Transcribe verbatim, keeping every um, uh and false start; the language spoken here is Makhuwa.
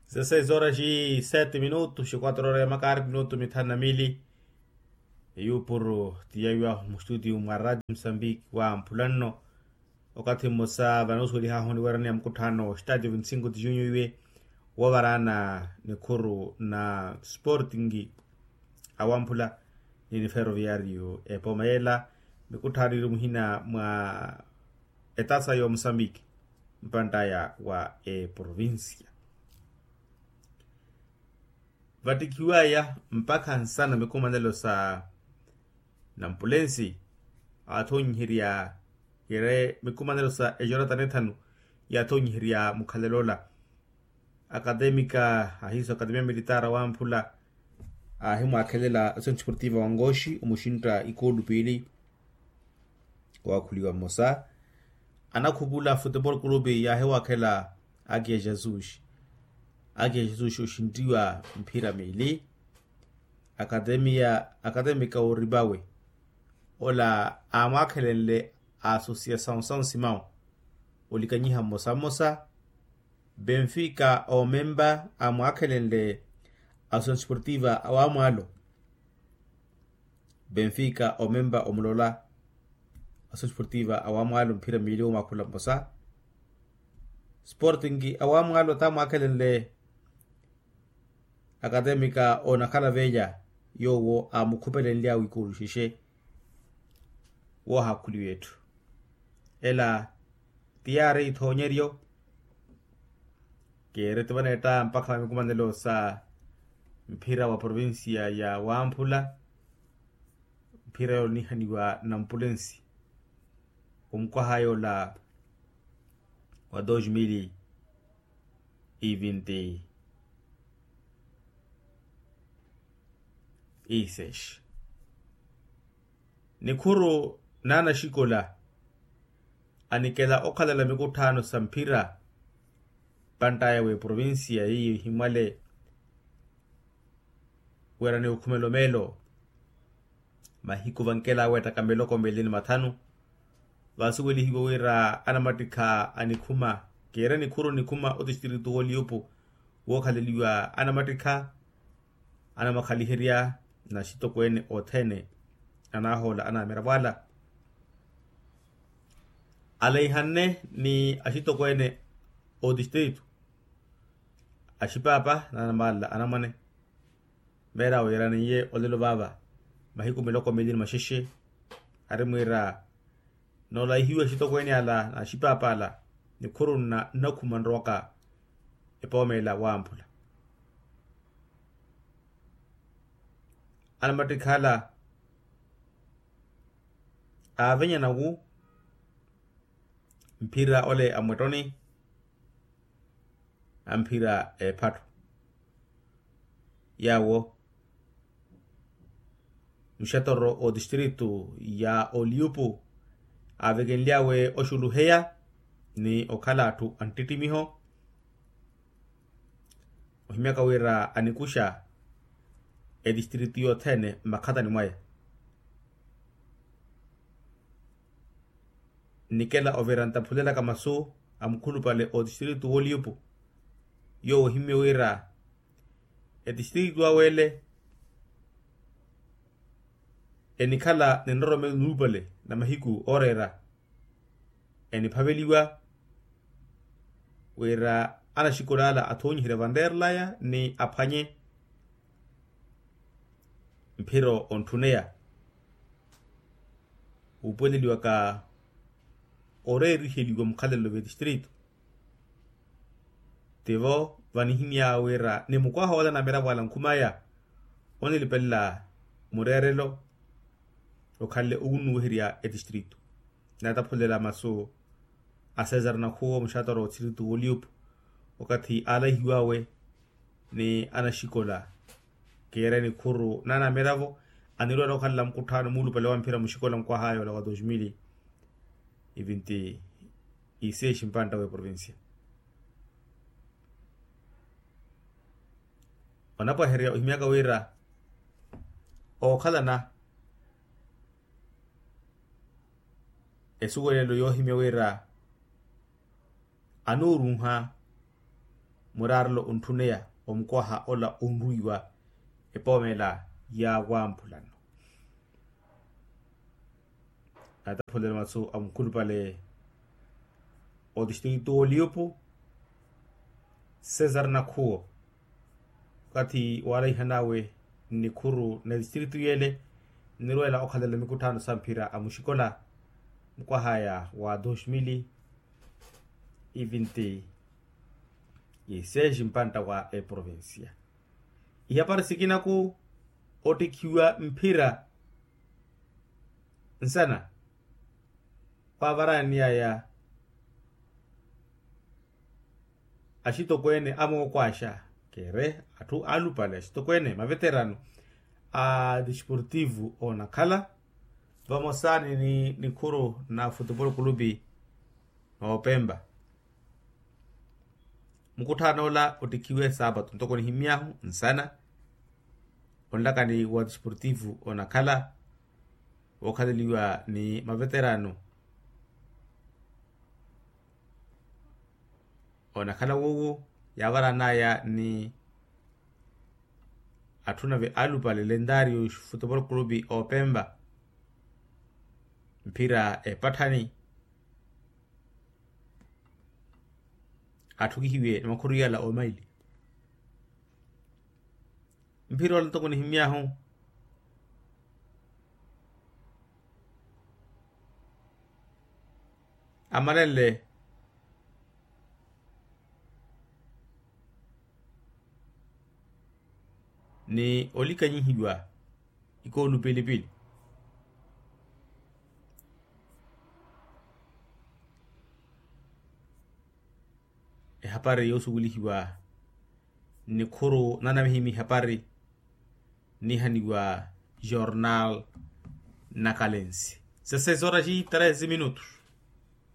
Dezesseis horas e sete minutos e quatro horas ya makaari minutu mithanu na miili. Eyuupuru ti yaiwa mustutiyu mwa radio musambiki wa mphulanno. Okathi mmosa vanosuwelihahu oniweraniya mukutthaano stadio vinti cinco ti junio iwe woovaraana nikhuru na sporting awamphula ni niferoviario epooma yeela. Mikutthaano iri muhina mwa etasa yo musambiki mpantaya wa eprovincia. Vattikhiwaya mpakha nsana mikumanelo sa nampulensi aathonyiherya kere mikumanelo sa ejoratani ethanu yaathonyiherya mukhalelo ola. Akatemika ahiiso akatemia militaara wamphula aahimwaakhelela associasion desportiva wa ngoxi omuxintta ikoolu piili. Owaakhuliwa mmosa anakhupula futebol kulupi yaahiwaakhela akiya jesus akiya jesus oxinttiwa mphira miili. Akatemika oripawe ola aamwaakhelenle asosiyasawu sawu simau olikanyiha mmosa mmosa. Benfika omempa amwaakhelenle associasion desportiva awamwaalo. Benfika omempa omulola associasion desportiva awamwaalo mphira miili omwakhula mmosa. Sporting awamwaalo tamwaakhelenle akatemika onakhala veya yoowo amukhupelenly'awe ikooluxexe. Woohakhuliwa etthu ela ti yaari ithoonyeryo. Keereti vaneetta mpakha va mikumanelo sa mphira wa provincia ya wamphula. Mphira yoonihaniwa nampulensi omukwaha yoola wa dos mil e vinti e seis. Nikhuru n'anaxikola anikela okhalela mikutthaano sa mphira pantaya w'eprovincia yeiyo ehimwale wira ni okhumela omeelo. Mahiku vankela aweettaka miloko miili ni mathanu. Vaasuwelihiwe wira anamattikha anikhuma keere nikhuru nikhuma otistritu w'oliyupu wookhaleliwa anamattikha anamakhaliherya na axitokweene othene anaahoola anamiravo ala. Alaihanne ni axitokweene otistritu axipaapa na anamala anamwane. Meera wiiraniye olelo vaava mahiku miloko miili ni maxexe. Ari mwiira noolayihiwe axitokweene ala na axipaapaala nikhuru nnakhuma nrowaka epoomeela wamphula. Anamattikhala aavenyana wu mphira ole amwettoni amphira ephatto. Yaawo muxatoro otistritu ya oliyupu aavekenly'awe oxuluheya ni okhala atthu anttittimiho. Ohimyaka wira anikuxa etistritu yothene mmakhatani mwaya. Nnikela ovira ntaphulelaka masu a mukhulupale otistritu w'oliyupu yoowo ohimye wira etistritu awe ele enikhala ni nroromelo nuupale na mahiku ooreera eniphaveliwa wira anaxikola ala athoonyiherya vanreerelaya ni aphwanye mphiro ontthuneya wuupuweleliwaka oreeriheliwa mukhalelo v'etistritu. Tivo vanihimy'awe wira ni mukwaha ola na miravo ala nkhum'aya onilipelela mureerelo okhanle owunnuwiherya etistritu. Naataphulela masu a cesar nakhuwo muxatoro otistritu w'oliyupu wakathi aalahihiw'awe ni anaxikola keere nikhuru n'anamiravo anilwala okhalela mukutthaano muulupale wa mphira muxikola mukwaha yoola wa dos mil e vinti e seis mpantta w'eprovincia. Onapwaherya ohimyaka wira ookhalana esuwelelo yoohimya wira anuurunha muraarelo ontthuneya omukwaha ola onrwiiwa epoomela ya wamphulano. Naataphulela masu a mukhulupale otistritu oliupu cesar nakhuwo okathi waalaihan'awe nnikhuru na etistritu yele nnirweela okhalela mikutthaano sa mphira a muxikola mukwahaya wa dos mili e vinti e seis mpantta wa eprovincia. Ihapari sikinaku ottikhiwa mphira nsana waavaraaniyaya axitokweene amookwaxa keere atthu alupale axitokweene maveterano a desportivo onakhala vamosaani ni nikhuru na futupolo kulupi noopempa. Mukutthaan'ola ottikhiwe saapatu ntoko nihimyahu nsana onlakani wa desportivo onakhala wookhaleliwa ni maveterano onakhala woowo yaavaran'aya ni atthu nave alupale lentario futupolo kulupi oopempa mphira epatthani atthukihiwe ni makhuru yala omaili. Mphira ola ntoko nihimyahu amalenle ni olikanyihiwa ikoolu pilipili. Ehapari yoosukulihiwa nnikhuru nanamihimi ihapari nihaniwa jornal nakalensi. Sesesora xi treze minutos.